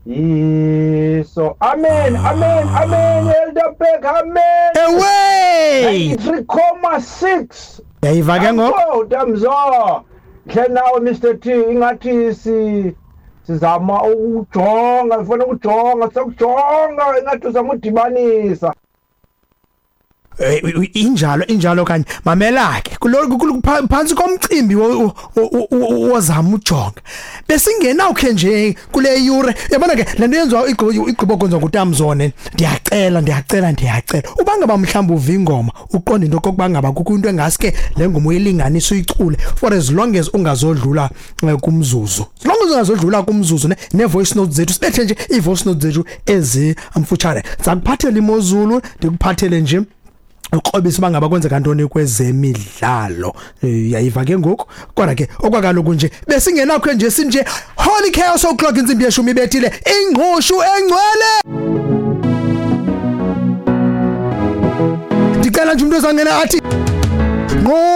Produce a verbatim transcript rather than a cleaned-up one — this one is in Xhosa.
Yiso. Amen, amen, amen, Elder Beck, amen. Ewe three point six. Yayiva ke ngoku. Damzo. Hle nawe Mister T, ingathi si sizama ukujonga, ngifuna ukujonga, sokujonga ingathi uzama udibanisa. Injalo injalo kanye mamela ke phansi komcimbi wozama ujonga besingenawukhe nje kule yure yabona ke lento yenziwa igqibo kwenziwa nguTamzone. Ndiyacela ndiyacela ndiyacela uba ngaba mhlawumbe uva ingoma uqonde into okokuba ngaba kukho into engaske le ngoma uyilinganisa uyicule for as long as ungazodlula kumzuzu, as long as ungazodlula kumzuzu ne voice notes zethu sibethe nje i voice notes zethu ezimfutshane. Ndizakuphathela imozulu, ndikuphathele nje ukrobisa bangaba kwenzeka ntoni kwezemidlalo. Yayiva ke ngoku. Kodwa ke okwakaloku nje besingenakho nje sinje Holy Chaos o'clock intsimbi yeshumi ibethile ingqushu engcwele. Ndicela nje umuntu ozangena athi ngqo